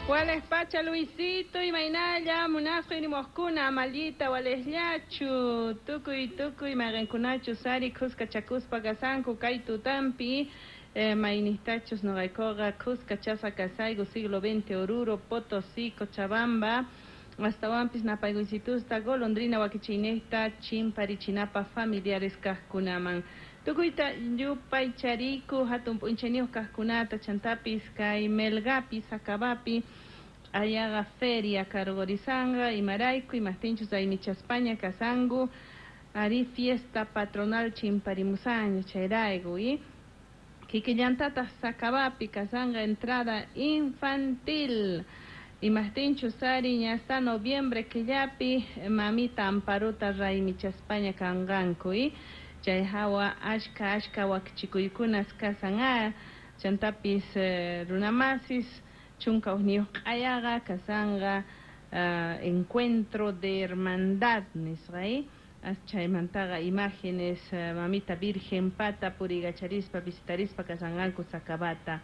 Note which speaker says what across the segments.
Speaker 1: Wales pacha Luisito imaynalla munasqa inimuqkuna amallita walesllachu tukuy tukuy mayqinkunachu sari khuskachakuspa kasanku kay tutampi maynistachus nuqaykuqa khuskachasqa kasayku siglo XX Oruro, Potosí, Cochabamba astawanpis napaykuysitusta golondrina wakichiyniyta chimparichinapaq familiares kaqkunaman tukuyta yupaychariku hatun p'unchayniyuq kaqkunata chantapis kay Melgapi Sacabapi ayaqa feria karqurisanqa imarayku imaqtinchus raymichaspaña kasanku ari fiesta patronal chimparimusaña chayrayku y kikillantataq Sacabapi kasanqa entrada infantil imaqtinchus ari ña hasta noviembre killapi mamita Amparuta raymichaspaña kanqanku y chay hawa ashka ashka wakichikuykunas kasan a chantapis runamasis chunka hukniyuq q'ayaqa kasanqa encuentro de hermandad nisqa y chaymantaqa imágenes mamita Virgen pata puriykacharispa visitarispa kasanqanku Sacabata.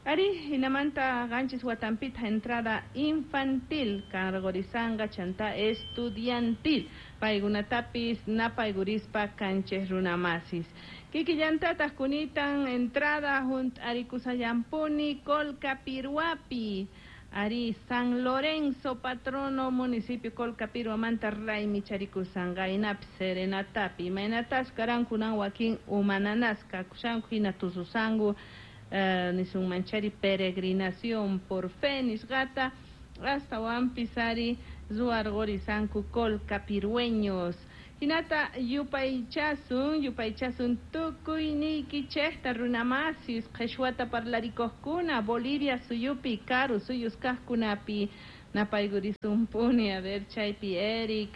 Speaker 1: Ari, hinamanta qanchis watampita entrada infantil karqurisanqa chanta estudiantil paykunatapis napaykurispa kanchik runamasis. Kikillantataq kunitan entrada hunt'arikusallampuni Colcapirhuapi. Ari, San Lorenzo, patrono municipio Colcapirhuamanta raymicharikusqanqa hinapis serenatapi imaynatas karankunan wakin umananasqa kakushanku hina tususanku nisunmanchari peregrinación por fe nisqata astawanpis ari ruwarqurisanku colcapirhueños. Hinata yupaychasun yupaychasun tukuyniykichikta runamasis qhichwata parlarikuqkuna Bolivia suyupi karu suyus kaqkunapi napaykurisunpuni a ver chaypi Eric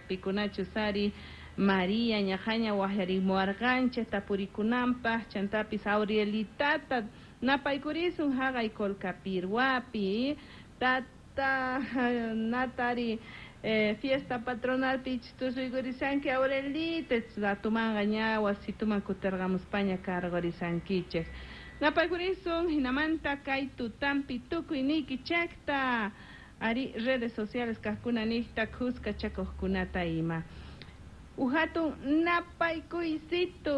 Speaker 1: pikunachus ari María ñaqaña waqyarimuwarqanchik tapurikunanpaq chantapis Aurielitata napaykurisun haqay Colcapirhuapi tata natari fiesta patronal tusuykurishanki Aurelita ratumanqa ña wasituman kutirqamuspaña karqurisankichik napaykurisun hinamanta kay tutampi tukuyniykichikta ari redes sociales kaqkuna niqta khuskachakuqkunata ima uhatun napaykuysitu.